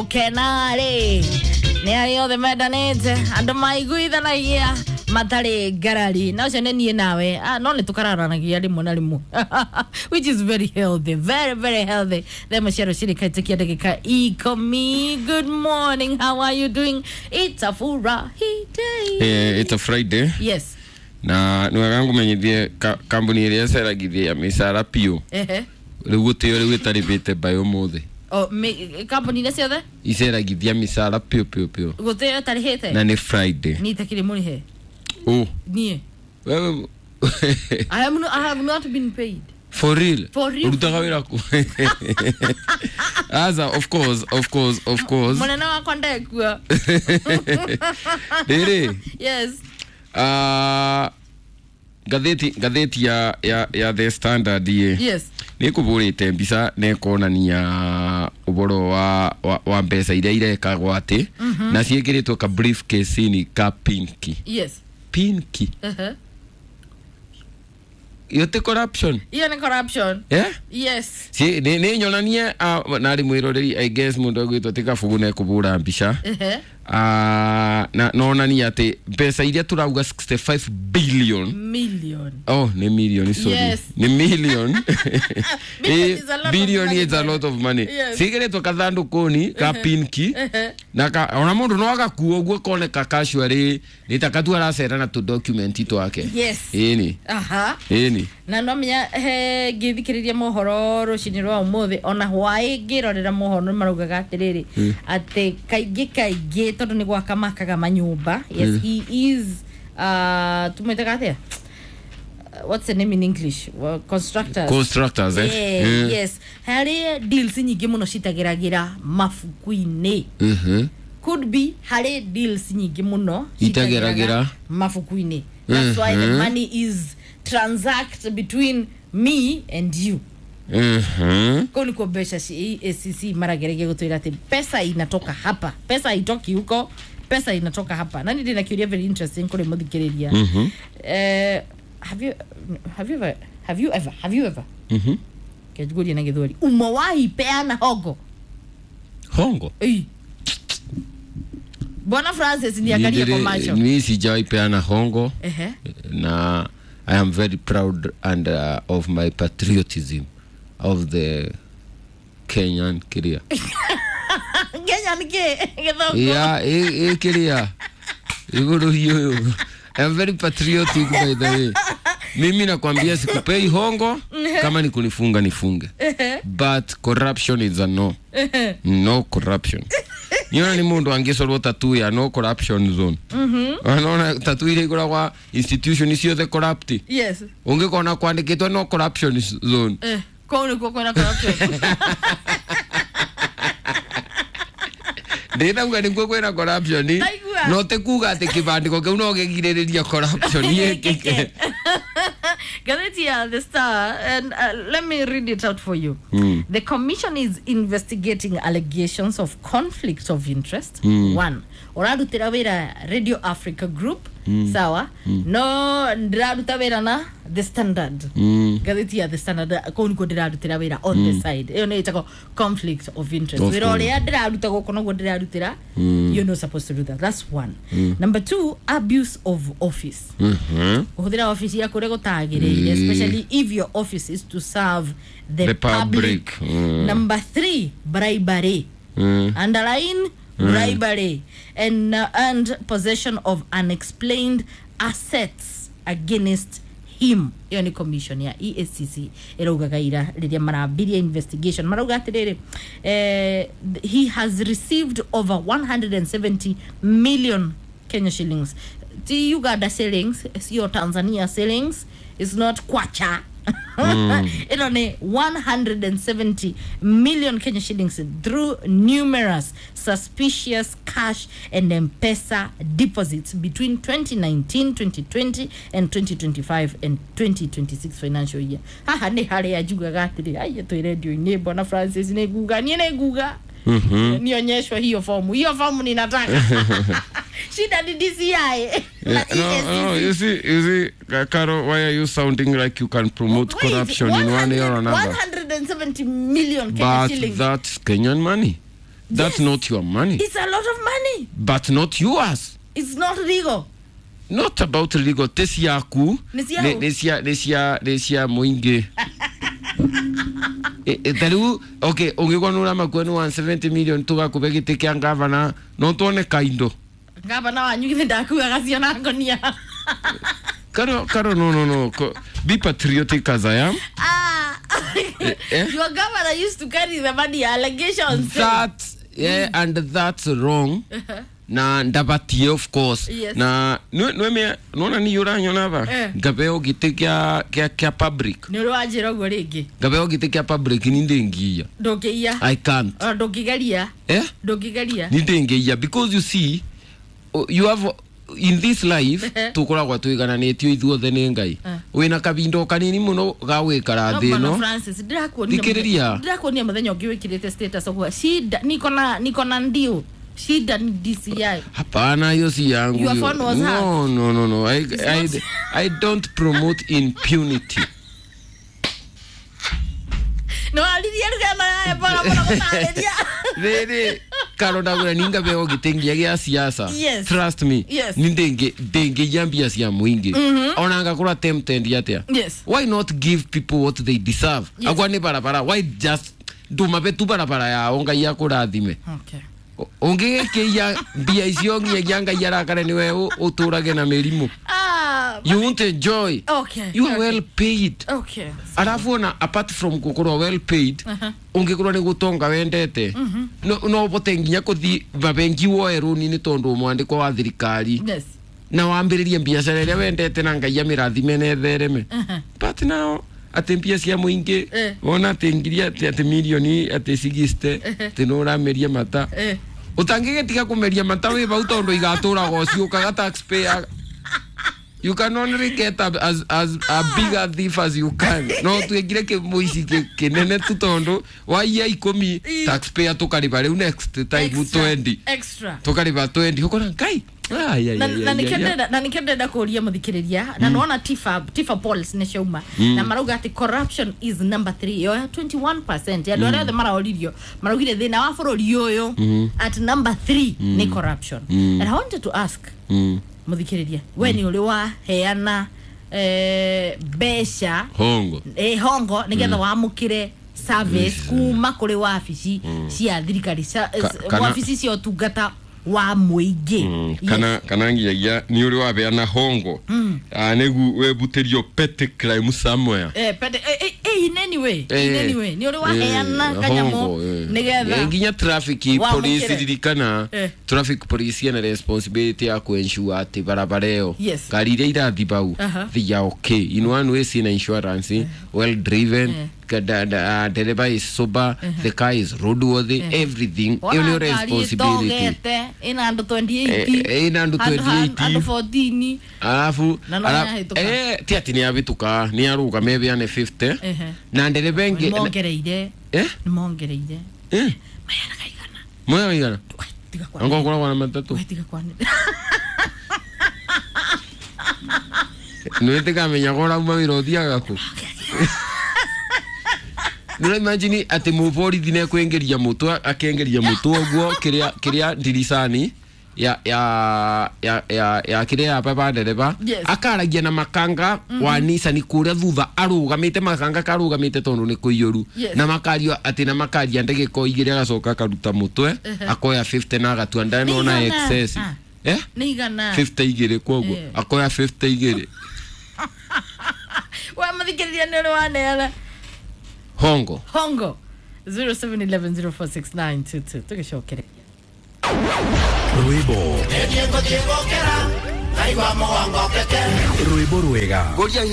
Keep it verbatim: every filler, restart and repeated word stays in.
Kenarĩ nĩ arĩa othe mendanĩte andũ maiguithanagia matarĩ ngarari na ũcio nĩ niĩ nawe. Ah, no nĩ tũkararanagia rĩmwe na rĩmwe, which is very healthy, very very healthy. Themo cia rũcinĩ kaitũkia ndagĩka ikũmi. Good morning, how are you doing? It's a furahi day. Eh, it's a Friday. Yes. Na nä wega ngåmenyithie kambuni ä rä a ĩceragithia mĩcara piũ Ehe. rĩu gũtĩo rĩu ĩtarĩbĩte mbaĩ ũmũthĩ. O mi- kambuni-inĩ ciothe Iceragithia mĩcara piũ piũ piũ. Gũtĩo ĩtarĩhĩte. Na nĩ Friday. Niĩ itakĩrĩ mũrĩhe. Ũ niĩ wewe. I am no, I have not been paid. For real? For real. Ũrutaga wĩra kũ? Aza, of course, of course, of course. Mũnene wakwa ndekua. Rĩrĩ. Yes. Ah, ngathĩti ngathĩti ya, ya, ya The Standard ĩ Yes. Nä kå bå rä te mbica na ĩkonania ũboro wa, wa, wa mbeca iria irekagwo atä na ciäkä rä two ka briefcase-inĩ ka pinki. Yes. Pinki. Uh-huh. Iyo ti corruption? Hiyo ni corruption. Eh? Yes. Ci- nä nä nyonanie ah, narä mwä roreri, I guess må ndå agwätwo tä kabugu na ekå ra mbica. Uh-huh. Ah, na nonania atä mbeca iria tå rauga sixty-five billion. Million. Oh, nä million, sorry. Yes. Nä million. Billion is a lot of Billion money. is a lot of money. Yes. Ciägä kathandå-kå ka pinki na ka, ona må ndå no agakua å guo koneka casually nä ta katu aracera na tå document twake. Yes. Ĩni. Aha. Ĩni. Na no menya he ngĩthikĩrĩria mohoro rũcinĩ rwa ũmũthĩ ona hwaĩ ngĩrorera mohoro nĩ maraugaga atĩrĩrĩ atĩ kaingĩ kaingĩ tondũ nĩ gwaka makaga manyũmba. Yes, he is uh, tumwĩtaga atĩa? Uh, what's the name in English? Well, constructors. Constructors, eh? Yeah, Mm. yes, harĩ deals nyingĩ mũno citageragĩra mabuku-inĩ. Mhm. Could be harĩ deals nyingĩ mũno Itageragĩra. mabuku-inĩ. That's why the Mhm. money is transact between me and you. Mhm. Kũu nĩkuo mbeca ci E A C C marageragia gũtwĩra atĩ pesa inatoka hapa, pesa haitoki huko, pesa inatoka hapa. Na nĩ ndĩna kĩũria very interesting kũrĩ mũthikĩrĩria. Mhm. Eh, have you have you ever have you ever have you ever Mhm. kĩnjiguria na gĩthweri umewahi peana hongo? Hongo. Ĩi. Bwana Francis niangalie kwa macho. Mi sijawahi peana hongo. Ehe. Na I am very proud and uh, of my patriotism of the Kenyan kiria. Kenya nĩkĩ gĩthũngũ? Yeah, ä kiria iguru hiyo. I'm very patriotic, by the way. Mimi nakwambia sikupei hongo, kama ni kunifunga nifunge. But corruption is a no. No corruption. Niona ni mundu angicorwo tattoo ya no corruption zone. Anaona tattoo ile ikoragwa institution ciothe corrupt. Yes. Ungikona kwandikitwo no corruption zone. Eh, kũu nĩkuo kwĩna corruption. Ndinauga nĩkuo kwĩna corruption. Ndaigua. No ti kuga atĩ kĩbandĩko kĩu no gĩgirĩrĩria corruption yĩkĩke. Gazeti ya The Star, and uh, let me read it out for you. Mm. The commission is investigating allegations of conflict of interest. Mm. One, ũrarutĩra wĩra Radio Africa Group, sawa? No ndĩraruta wĩra na The Standard. Mm. Gazeti ya The Standard kũu nĩkuo ndĩrarutĩra wĩra on the side. Ĩyo nĩ ĩtagwo conflict of interest. Of Wĩra course. ũrĩa ndĩraruta gũkũ noguo ndĩrarutĩra. You're not supposed to do that. That's one. Number two, abuse of office. Mhm. Kuhuthira office yaku ũrĩa gũtagĩrĩire, especially if your office is to serve the, The public. Mm. Number three, bribery. Mm. Underline bribery and, uh, and possession of unexplained assets against him. Ĩyo nĩ commission ya E A C C ĩraugaga ira rĩrĩa marambirie investigation marauga atĩrĩrĩ, eh, he has received over one hundred seventy million Kenya shillings, ti Uganda shillings, sio Tanzania shillings, is not kwacha, ĩno nĩ one hundred seventy million Kenya shillings through numerous suspicious cash and M-Pesa deposits between twenty nineteen, twenty twenty and twenty twenty-five and twenty twenty-six financial year. Haha nĩ harĩa njugaga atĩrĩ aiye twĩ redio-inĩ bwana Francis nĩ nguga niĩ nĩ nguga nionyeshwe hiyo fomu, hiyo fomu ninataka. Shida ni D C I na Yeah, no, no, E A C C. you see, you see, Caro, why are you sounding like you can promote Wait, corruption in one way or another? one hundred seventy million Kenya But shillings. that's Kenyan money. That's Yes. not your money. It's a lot of money. But not yours. It's not legal. Not about legal. Ti ciaku. Nĩ ciao. Nĩ cia nĩ cia nĩ cia mũingĩ. E- e, ta rĩu okay ũngĩkorwo nĩ ũramakua nĩ one seventy million tũgakũbe gĩtĩ kĩa ngavana no tuone kaindo. Gavana wanyu githĩ ndakuaga ciona ngonia. Karo karo no no no. Ko- Be patriotic as I am. Ah. Eh? Your governor used to carry the money, allegations. That yeah, and that's wrong. Na ndabatie of course. Yes. Na nweme nona ni uranyona ba Eh. ngabeo gĩtĩ kĩa kĩa kĩa public. Nĩ ũrĩ wanjĩra ũguo rĩngĩ. Ngabeo gĩtĩ kĩa public ni ndĩngiya. Ndũngĩiya. I can't. Ona ndũngĩgeria. Eh? Ndũngĩgeria. Ni ndĩngĩiya because you see uh, you have in this life tukoragwo twigananĩtio ithuothe nĩ Ngai. Eh. Wĩna kabindo kanini mũno ga gwĩkara No, thĩ Bwana ĩno. Francis, ndĩrakuonia Thikĩrĩria. mũthenya- ndĩrakuonia mũthenya ũngĩ wĩkĩrĩte status ũguo. Shida niko na niko na ndio. Shida ni D C I. Hapana, hiyo si yangu. Your hiyo. phone was No, no, no, no. I, I, not- I don't promote impunity. No aririe rugano ya bora bora gũtarĩria. Rĩrĩ karo ndagwĩra ninga beo gĩtĩ gĩa siasa. Yes. Trust me. Yes. Ni ndĩngĩ ndĩngĩiya mbia cia mũingĩ. Ona ngakorwo tempted atĩa. Yes. Why not give people what they deserve? Yes. Akwa nĩ barabara. Why just ndumabe tu barabara yao Ngai akũrathime. Okay. Ũngĩgĩkĩiya mbia icio nginyagia Ngai arakare nĩwe ũ- ũtũrage na mĩrimũ. Ah, You won't enjoy. okay. You are okay. well paid. Okay. Arafu ona apart from gukorwo well paid, Uh-huh. ungikorwo ni gutonga wendete no no ubote nginya kuthi mabengi woe runi ni tondu mwandiko wa thirikari Yes. na wambiririe biacara iria wendete na Ngai amirathime na ethereme. Uh-huh. But now ati mbia cia muingi Eh. wona ati ngiri ati ati milioni ati sixty ati no urameria mata Eh. utangigitiga kumeria mata wi vau tondu igaturaga ciukaga taxpayer. You can only get a, as, as a bigger thief as you can. No tuingire kimuici kinene tu tondu waiya ikumi Ii. taxpayer tukariba riu next time Extra. twenty Extra. tukariba twenty ukona Ngai. Ai, ai, na ai, na ai, nikio ai, ai. ndĩrenda- na nikio ndĩrenda kũria mũthikĩrĩria na nĩwona tifa tifa polls nĩ ciauma na marauga atĩ corruption is number three yoya twenty-one percent ya andũ arĩa othe maraoririo maraugire thĩna wa bũrũri ũyũ at number three nĩ corruption. And I wanted to ask Mm. mũthikĩrĩria we nĩ ũrĩ waheana eh, mbeca Hongo. eh, hongo nĩgetha wamũkĩre service kuma kũrĩ wabici cia thirikari cia- Ka- kana- wabici cia ũtungata wa mũingĩ. Mm, Yes. kana kana nginyagia ni uri wabeana hongo ah nĩgu webutĩrio petty crime somewhere. Eh, pete, eh, eh, eh, in any way, in Eh, any way. Nĩ ũrĩ waheana eh, kanyamũ hongo, eh. Eh, nĩgetha nginya traffic Wamũkĩre. police ririkana Eh. traffic police ena responsibility ya kuensure atĩ barabara ĩyo Yes. ngari iria irathi bau Aha. they are okay in one way ciĩna insurance, well driven, Eh. ka- da- da- ah, dereba is sober, the car is roadworthy, everything. Ĩyo nĩyo Wona ngari responsibility. ĩtogete ĩna andũ twenty-eight. Eh, ĩna andũ Handũ ha- twenty-eight. andũ fourteen. Alafu Na no ala- nĩyahĩtũka. eh, ti atĩ nĩyahĩtũka nĩarũgama ĩbeane fifty Ehe. na ndereba ĩngĩ Nĩmongereire. eh Nĩmongereire. eh Mayaraga igana. moya igana. We, tiga kwanĩrĩra. Angorwo koragwo na matatũ. We, tiga kwanĩrĩra. Nĩwĩtĩkamenya ko ũrauma wĩra ũthiaga kũ. Nĩũra imagine atĩ mũborithi nĩekũingĩria mũtwe akĩingĩria mũtwe ũguo kĩrĩa kĩrĩa ndiricani ya ya ya ya ya kĩrĩa ya baba ndereba Yes. akaragia na makanga wa Nissan kũrĩa thutha arũgamĩte makanga karũgamĩte tondũ nĩ kũiyũru. Yes. Na makario atĩ na makaria ndagĩka o igĩrĩ agacoka akaruta mũtwe akoya fifty na agatua ndanona Nĩ igana. excess. Ah. Eh Nĩ igana. fifty igĩrĩ koguo Eh. akoya fifty igĩrĩ. We mũthikĩrĩria nĩ ũrĩ waneana Hongo. hongo zero seven eleven zero four six nine two two tũgĩcokereria. Rwĩmbo rwĩmbo rwega. Ngoria.